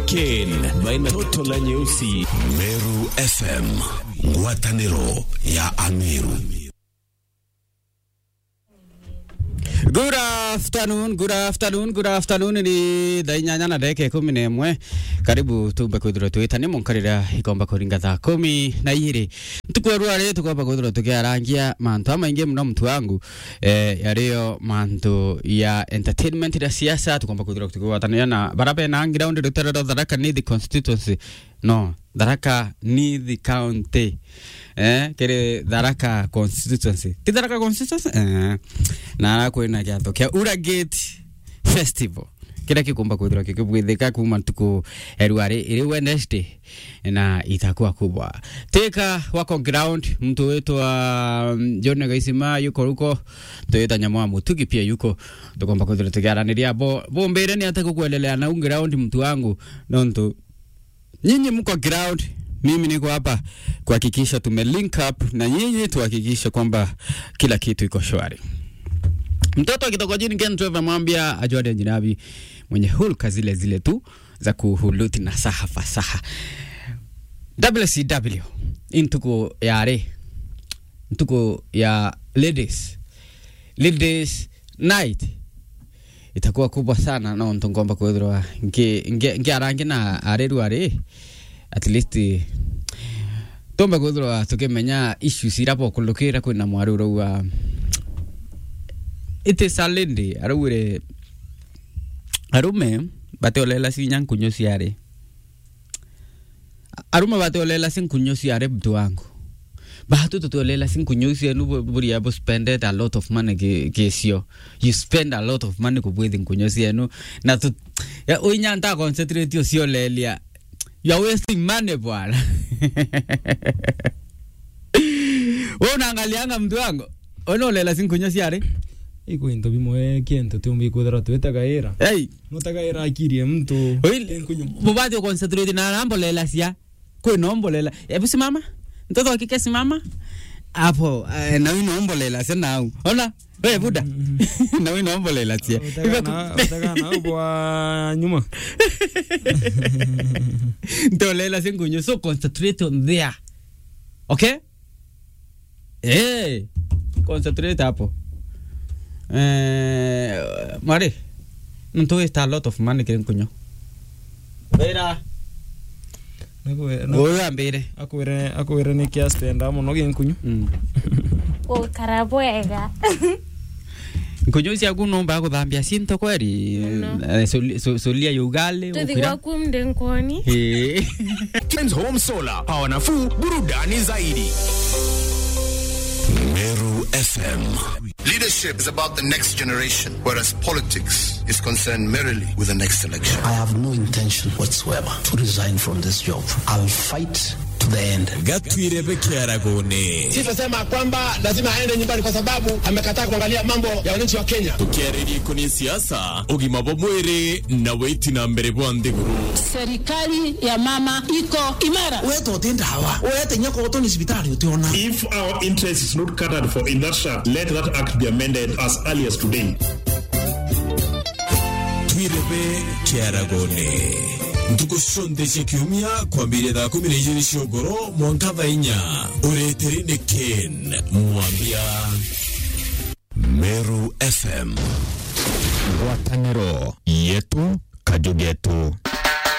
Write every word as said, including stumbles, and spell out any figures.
Ken, baina toto la nyeusi. Meru F M, ngwataniro ya Ameru. Good afternoon, good afternoon, good afternoon. Ni thaa inyanya na ndagika ikumi na imwe. Karibu tumbe kwithirwa twitania munkarira ikomba kuringa thaa kumi na igiri. Ntuku ya rwari tukomba kwithirwa tukiarangia mantu amaingi muno, muntu wangu. Eh, yario mantu ya entertainment, ya siasa, tukomba kwithirwa tukigwatanira na bara bena ground rutere rwa Tharaka Nithi constituency. No, Tharaka Nithi County. Eh, kiri Tharaka constituency. Ti Tharaka constituency? Eh. Na ara kwina kiatho kia Ura Gate Festival, kiria kikumba kwithirwa kikibwithika kuma ntuku ya rwari iri Wednesday na itakuwa kubwa. Teka wako ground, mtu witwa, mm, John Gaisima yuko ruko, twita Nyamwa Mutugi pia yuko, tukomba kwithirwa tukiaraniria bo, bombire ni ate kukuelelea na ungi ground, mtu wangu, nontu nyinyi mko ground, mimi niko hapa kuhakikisha tume link up na nyinyi, tuhakikishe kwamba kila kitu iko shwari. Mtoto wa kitokojini Ken Trevor Mwambia ajuane jinabi, mwenye hulka zile zile tu za kuhuluti na saha fasaha. W C W, ntuku ya ri, ntuku ya ladies, ladies night itakuwa kubwa sana, nontu ngomba kwithirwa nki-, nki-, nkiarangi na ari rwari, at least tumbe kwithirwa tukimenya issues ira bokulukira kwina mwari urauga, it is a lady, araugire arume batiolela cinya nkunyu ciari. Arume batiolela si nkunyu ciari, mtu wangu. Batu tutiolela si nkunyu cienu bu-, buria bu spended a lot of money ki-, kicio. You spend a lot of money kubwithi nkunyu cienu. Na tu-, ya, uinya nta concentrate uciolelia. You are wasting money, bwana. Wewe unaangalianga, mtu wangu? Wewe unaolela si nkunyu ciari? Iko into bimwe kintu tiumbi kwithirwa twitagaira. Hey. Nutagaira akiri ya mtu. Oi, nkunyu. Mubati uconcentrate na arambolela cia. Kwina ombolela. Ebu simama. Mtoto wa kike simama. Hapo, eh, na wina ombolela cia nau. Ona? We buda. Mm. Na wina ombolela cia. Utagana, utagana ubwa nyuma. Ntolela cia nkunyu. So concentrate on there. Okay? Eh, concentrate hapo. Eh, mwari, ntu waste a lot of money kiri nkunyu. Wira. Nakwira, na- Uyu ambire. Akwire, akwire ni kia stenda muno gi nkunyu. Mm. Gukara bwega. Nkunyu ciaku numba guthambia cinto kweri? Muno. Eh, soli-, so-, solia ya ugali, tuthi ukira gwaku mdenkoni. Eh. Ken's Home Solar, power nafuu, burudani zaidi. Meru F M. Leadership is about the next generation, whereas politics is concerned merely with the next election. I have no intention whatsoever to resign from this job. I'll fight to the end. Gatwire bekiaragone. Sitasema kwamba lazima aende nyumbani kwa sababu amekataa kuangalia mambo ya wananchi wa Kenya. Tukiariria ikoni siasa, ugima bwa mwiri na witi na mbere bwa nthiguru. Serikali ya mama iko imara. Wewe tote ndawa. Wewe tenya kwa utoni cibitari utiona. If our interest is not catered for in that shaft, let that act be amended as early as today. Twirebe kiaragone. Ntuku cionthe cia kiumia kwambiria thaa kumi na ijiri cia ugoro mwanka thaa inya. Ureteri ni Ken Mwambia. Meru F M. Ngwataniro yetu, kaju getu.